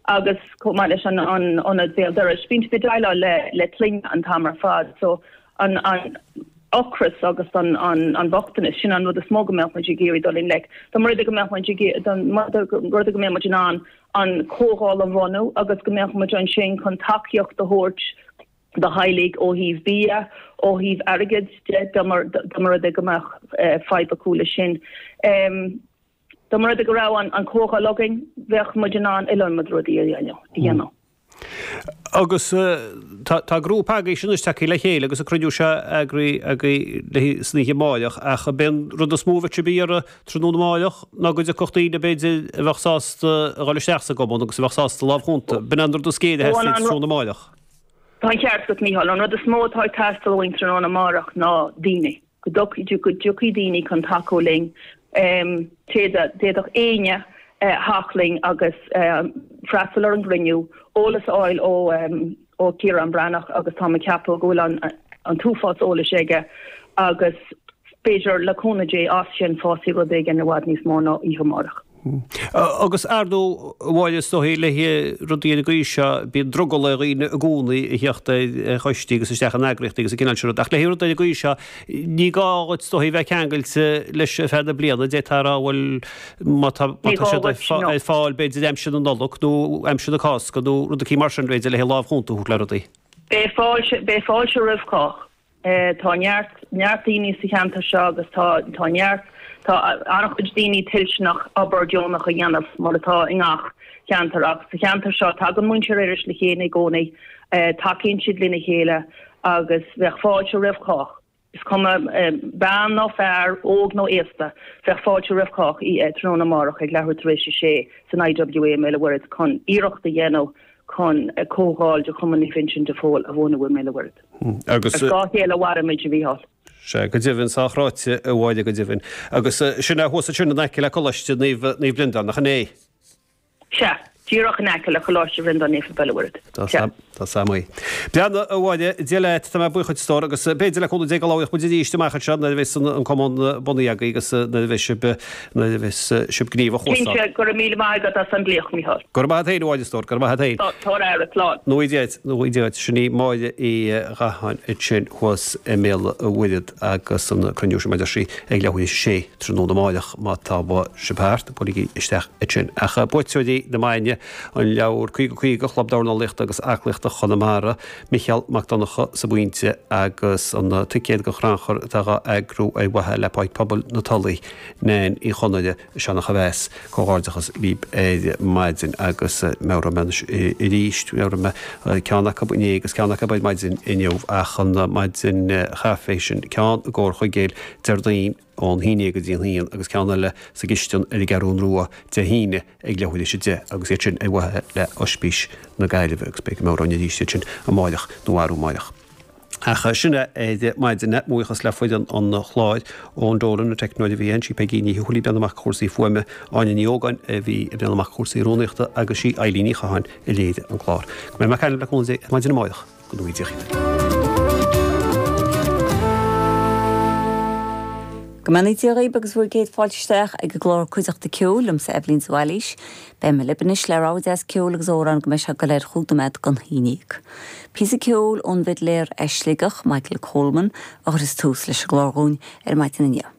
Agus chomh maith leis an ionad béal dorais, bíonn siad ag déileáil le clainne an t-am ar fad. So an ocras agus an bochtanas, sin an rud is mó go mbeadh muid ag iarraidh dul i ngleic. Dá mba rud é go mbeadh muid ag dá mba rud é go mbeadh muid in ann an comhdháil a bhunú agus go mbeadh muid ansin chun tacaíocht a thabhairt do theaghlaigh ó thaobh bia, ó thaobh airgid de, dá mba rud é go mbeadh fadhb acu leis sin. Dá mba rud é go raibh an comhdháil againn, bheadh muid in ann iliomad rudaí a dhéanamh. Agus tá grúpa agaibhse anois tagtha le chéile agus an cruinniú seo eagraithe agaibh san oíche amáireach ach ab é an rud is mó a bheadh sibh ag iarraidh tráthnóna amáireach ná go dtiocfadh daoine b'fhéidir a bheadh sásta a dhul isteach sa gcumann agus a bheadh sásta lámh chúnta. B'in an rud is géire a theastaíonn tráthnóna amáireach. Tá an ceart agat, Mícheál. An rud is mó atá ag teastáil uainn tráthnóna amárach ná daoine. Go dtiocfaidh daoine chun tacú linn. D'fhéadfadh éinne theacht linn agus freastal ar an gcruinniú, eolas a fháil ó Ciarán Breathnach agus táim ag ceapadh go bhfuil an t-uafás eolais aige agus b'fhéidir le cúnamh Dé as sin fásfaidh rud éigin i bhfad níos mó ná oíche amárach. Agus ar ndóigh, a Mháire, is dóigh le rudaí ar an gcaoi seo, bíonn drogall ar dhaoine i gcónaí a theacht ar choistí agus isteach in eagraíochtaí agus an cineál sin rud. Ach le rudaí ar an gcaoi seo, ní gá dhuit, is dóigh, a bheith ceangailte leis ar feadh na bliana. D'fhéadfá a rá, bhuel, má tá siad ar fáil b'fhéidir aimsir na Nollag nó aimsir na Cásca nó rud eicínt mar sin, b'fhéidir, le lámh chúnta a thabhairt le rudaí. Beidh fáilte roimh chách. Tá neart, neart daoine sa cheantar seo agus tá, tá neart, tá an-chuid daoine toilteanach obair deonach a dhéanamh mar atá i ngach ceantar ach sa cheantar seo tagann muintir Iorrais le chéile i gcónaí, tacaíonn siad lena chéile agus bheadh fáilte roimh chách. Is cuma bean nó fear, óg nó aosta, bheadh fáilte roimh chách tráthnóna amárach ag leathuair tar éis a sé san IWA i mBéal an Mhuirthead chun iarracht a dhéanamh chun comhdháil de Chumann Naomh Uinseann de Phól a bhunú i mBéal an Mhuirthead. Agus. Ar scáth a chéile a mhairimid, a Mhícheáil. Sea, go deimhin, sách ráite, a Mháire, go deimhin. Agus sin é thuas ansin in aice le Coláiste Naomh, Naomh Breandán, nach in é? Sea, díreach in aice le Coláiste Bhreandáin Naofa Béal an Mhuirthead. Tá Sea. Tá 's a'm í. Breathnaigh, a Mháire, Dia leat, tá mé buíoch duit, a stór, agus b'fhéidir le cúnamh Dé go labhróidh muid arís amach anseo nuair a bheas an, an cumann bunaithe agaibh agus nuair a bheas sibh, nuair a bheas sibh gníomhach thuas ann. Cinnte, go raibh míle maith agat as an nglaoch, Mícheál. Go raibh maith agat féin, a Mháire, a stór, go raibh maith agat féin. Tabhair aire, slán. Go ngnóthaí Dia duit, go ngnóthaí Dia duit. Sin í Máire Uí Ghatháin ansin thuas i mBéal an Mhuirthead agus an cruinniú sin mar a deir sí ag leathuair théis a sé tráthnóna amáireach má tá sibh thart, buailigí isteach ansin. Ach buaiteoirí na maidine, an leabhar 50 50, Chlub Dornálaíochta agus Aclaíochta Chonamara, Micheál Mac Donncha sa bPointe agus an ticéad don chrannchur atá dhá eagrú ar mhaithe le Páirc Pobail na Tulaí, Nain Uí Chonaire. Seanach a bheas. Comhghairdeachas libh ar maidin agus meabhróidh mé anois arís, mheabhraigh mé ceann acu inné agus ceann acu ar maidin inniu ach an maidin chaife sin, ceann i gComhar Chuigéil Déardaoin ón haon déag go dtí an haon agus ceann eile sa gcistin ar an gCeathrún Rua Dé hAoine ag leathuair théis a deich agus iad sin ar mhaithe le Oispís na Gaillimhe agus beidh go meabhróinn arís iad sin amáireach nó arú amáireach. Ach sin é ar maidin é. Mo bhuíochas le foireann an chláir, Eoin Dolan, an teicneoir a bhí ann, sí Peigí Ní Thuathail ag breathnú amach cúrsaí fuaime, Áine Ní Ógáin a bhí ag breathnú amach cúrsaí rúnaíochta agus sí Eilín Ní Chatháin a léirigh an clár. Go mbeidh mé ag caint libh le cúnamh Dé ar maidin amáireach. Go ngnóthaí Dia dhaoibh. Go mbeannaí Dia dhaoibh agus bhur gcéad fáilte isteach ag an gclár Cuideachta Ceoil liomsa Eibhlín de Bhailís. Beidh mé libh anois le rogha deas ceoil agus amhrán go mbeidh sé ag goil ar chúig nóiméad don haon dhéag. Píosa ceoil ón bhfidléir as Sligeach, Michael Coleman, a chuirfeas tús leis an gclár dhúinn ar maidin inniu.